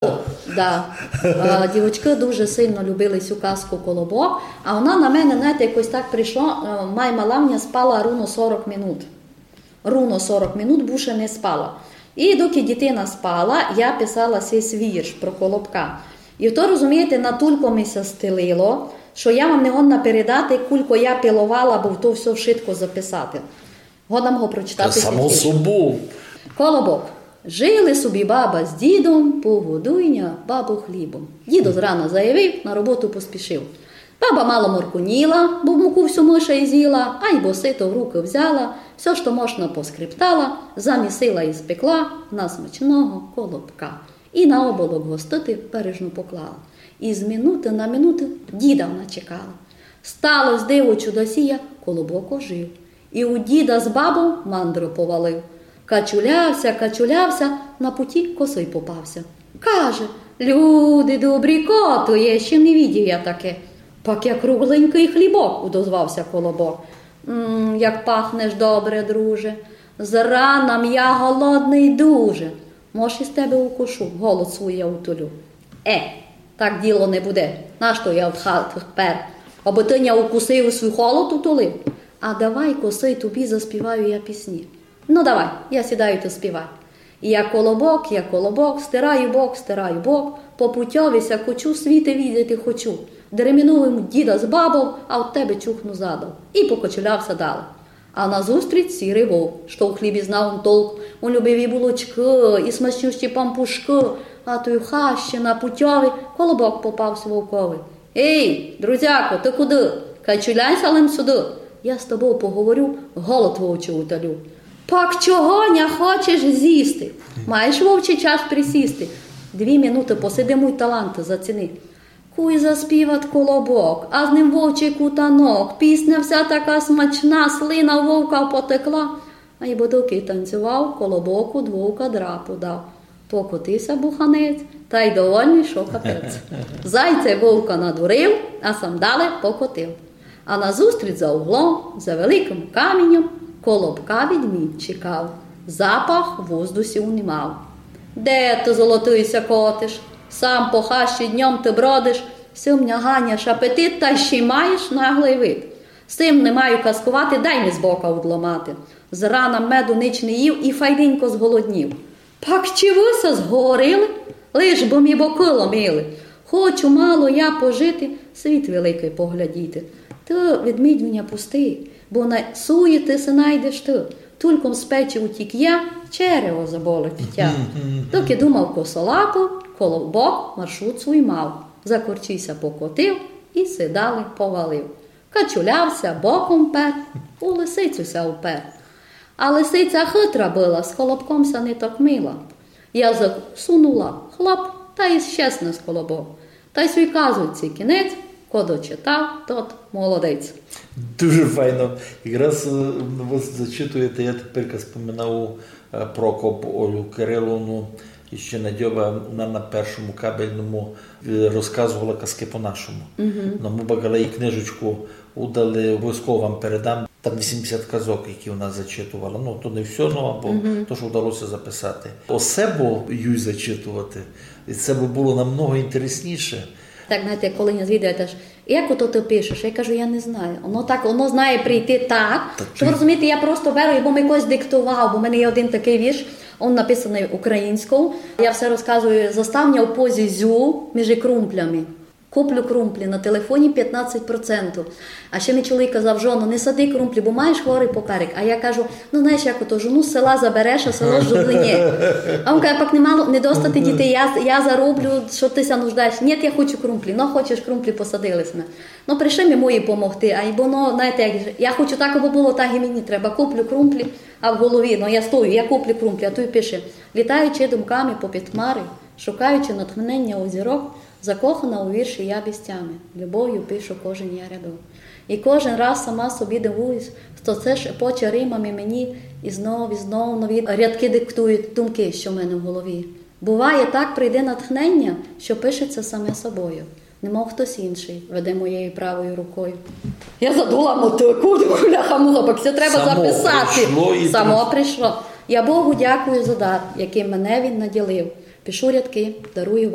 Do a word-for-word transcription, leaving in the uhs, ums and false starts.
Да. Е, дівочкы дуже сильно любили сю казку «Колобок», а она на мене, знаєте, якось так прийшла, е, май мала в мене спала руно сорок минут. Руно сорок минут буше не спала. І доки дітина спала, я писала сись вірш про Колобка. І то, розумієте, натулько ми ся стелило, што я вам не годна передати, кулько я пиловала, бо то всьо вшытко записати. Годна го прочитати. Та само собов. Колобок. Жили собі баба з дідом, погодуй ня, бабо, хлібом. Дідо зрана заявив, на роботу поспішив. Баба мало морконіла, бо муку всю миша ізїла, айбо сито в рукы взяла, всьо, што можна, поскрептала, замісила і спекла на смачного Колобка. І на оболок гостити бережно поклала. І з минуты на минуту діда вона чекала. Стало сь диво чудосія, Колобок ожив. І у діда з бабов мандро повалив. Качулявся, качулявся, на путі косый попався. Каже: «Люди добрі, ко то є, ще не видів я таке». «Пак як кругленькый хлібок», удозвався Колобок. «М, як пахнеш добре, друже. Зрана м я голодный дуже. Мож із тебе укушу, голод свій я утолю». «Е, так діло не буде. Нашто я од хаты пер? Абы ты ня укусив, свій голод утолив? А давай, косый, тобі заспіваю я пісні». «Ну давай, я сідаю, ты співай». Я Колобок, я Колобок, стираю бок, стираю бок, по путьови ся кочу, світе видіти хочу. Дременув им діда з бабов, а од тебе чухну задом. І покочулявся далі. А назустріч сірый вовк, што у хлібі знав он толк, он любив і булочкы, і смачнющі пампушкы, а той у хащі на путьови Колобок попався вовкови. «Ей, друзяко, ты куды? Качуляйся лем сюды. Я з тобов поговорю, голод вовчий утолю». «Пак чого ня хочеш зїсти? Маєш, вовче, час присісти. Дві минуты посиди, муй талант заціни». Куй заспіват Колобок, а з ним вовчий кутанок. Пісня вся така смачна, слина вовка потекла. Айбо доки танцював, Колобок од вовка драпу дав. Покотився буханець, тай довольный, што капець. Зайця вовка надурив, а сам далі покотив. А назустріч за углом, за великым камінням, Колобка ведмідь чекав, запах в воздусі унімав. «Де ты, золотый, ся котиш? Сам по хащі днём ты бродиш, сим ня ганяш апетит, та ще й маєш наглый вид. Сим не маю казкувати, дай ми з бока удламати. Зрана меду нич не їв і файненько зголоднів». «Пак чи вы ся зговорили? Лиш бы ми бокы ломили. Хочу мало я пожити, світ великый поглядіти. Ты, ведмідю, ня пусти, бо на суї ты ся найдеш ты. Тульком з печі утік я, черево заболить тя». Доки думав косолапый, Колобок маршрут свій мав. Закорчився, покотив і ся далі повалив. Качулявся, боком пер, у лисицю ся упер. А лисиця хитра была, з Колобком ся не токмила. Язык сунула, хлоп, та й щез нас Колобок. Та й сій казочці кінець, ко дочитав, тот молодець. Дуже файно. Якраз, е, вы зачитуєте, я тепер споминав, е, Прокоп Олю Кириловну, іщи Надьова, она на першому кабельному, е, розказовала казкы по-нашому. Но мы бакали і книжечку удали, обовязково вам передам. Там вісімдесят казок, які она зачитовала. Ну, то не всьо, ну, або то, што вдалося записати. Осе бы юй зачитовати, і се бы было намного інтересніше. Так, знаєте, коли мене звідують, аж: «Як ото ты пишеш?» Я кажу: «Я не знаю. Воно так, воно знає прийти так». Та то, розумієте, я просто беру, бо ми когось диктував, бо в мене є один такый вірш, він написаный українською. Я все розказую: «Застав ня в позі зю між крумплями. Куплю крумплі на телефоні пятнадцять процентів». А ще мій чоловік казав: «Жоно, не сади крумплі, бо маєш хворый поперек». А я кажу: «Ну, знаєш, як ото, жону з села забереш, а село з журы ні». А він каже: «Пак не мало, не достати дітей, я, я зароблю, што ты ся нуждаєш». «Ні, я хочу крумплі». «Ну, хочеш крумплі, посадили сьме». Ну, прийшли ми мої помогти, айбо, ну, знаєте, як же, я хочу так, абы было, так і мені треба. Куплю крумплі, а в голові, ну, я стою, я куплю крумплі, а туй пише: «Літаючи думками попід хмары, шукаючи натхнення у зірок, закохана у вірші я без тями, любов'ю пишу кожен я рядок». І кожен раз сама собі дивуюсь, што се шепоче римами мені, і знов, і знов нові рядкы диктують думкы, што в мене в голові. Буває, так прийде натхнення, што пишеться саме собою. Немов хтось інший веде моєю правою рукою. Я задула мотику, бляха-муха, пак се треба записати. Само прийшло і... Само прийшло. Я Богу дякую за дар, яким мене він наділив. Пишу рядкы, дарую